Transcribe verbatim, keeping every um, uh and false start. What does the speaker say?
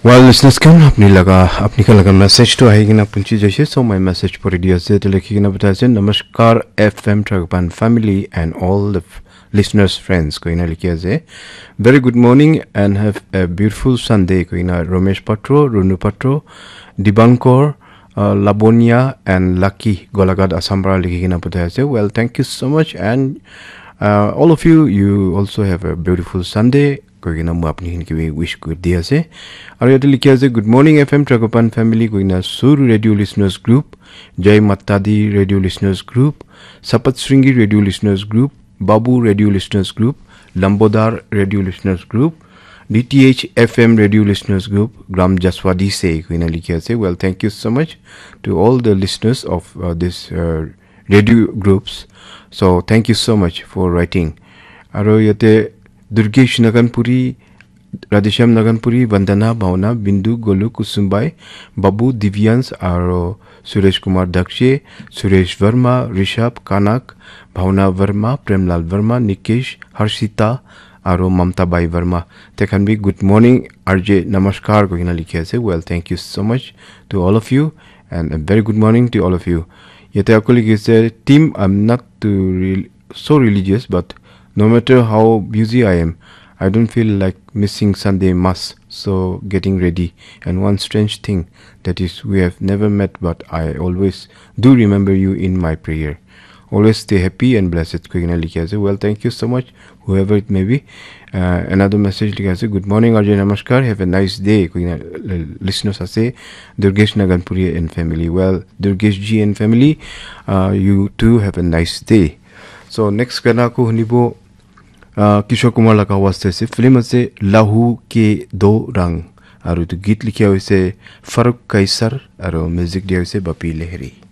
Well, listeners khan, apni laga, apni khan laga message to ahi kena punchi jaise. So my message pori di ase, to likhi kena batai ase, "Namaskar F M Tragopan family and all the f- listeners friends," koina likhi ase. "Very good morning and have a beautiful Sunday," koina Romesh Patro, Runu Patro, Dibankor, uh, Labonia and Lucky Golaghat Assam para likhi kena batai ase. Well, thank you so much and uh, all of you, you also have a beautiful Sunday. Koi kena moi apni khan ke bi wish kuri di ase. Aru yate likhi ase, "Good morning F M Tragopan family," koi kena Sur Radio Listeners Group, Jai Mata Di Radio Listeners Group, Sapat Sringi Radio Listeners Group, Babu Radio Listeners Group, Lambodar Radio Listeners Group, D T H F M Radio Listeners Group, Gram Jaswadi se koi kena likhi ase. Well, thank you so much to all the listeners of uh, this uh, radio groups. So thank you so much for writing. Aru yate Durgesh Naganpuri, Radheshyam Naganpuri, Vandana Bhawana, Bindu, Golu, Kusumbai, Babu, Divyans, aro Suresh Kumar Dakshe, Suresh Verma, Rishabh, Kanak, Bhawana Verma, Premlal Verma, Nikesh, Harshita, aro Mamta Bai Verma. They can be good morning, R J, namaskar, koi kena likhi ase. Well, thank you so much to all of you, and a very good morning to all of you. Yate akuli kise, "Team, I'm not too real so religious, but no matter how busy I am, I don't feel like missing Sunday Mass. So, getting ready. And one strange thing, that is, we have never met, but I always do remember you in my prayer. Always stay happy and blessed," koi kena likhi ase. Well, thank you so much, whoever it may be. Uh, another message likhi ase, "Good morning, R J, namaskar. Have a nice day," koi kena, uh, listeners ase, Durgesh Naganpuri and family. Well, Durgesh ji and family, uh, you too have a nice day. So next gana ko hunibo, uh, Kishore Kumar laga awaaz te ase, film ase Lahu Ke Do Rang, aru etu git likhia hoise Farooq Kaisar, aru music dia hoise Bapi Lahiri.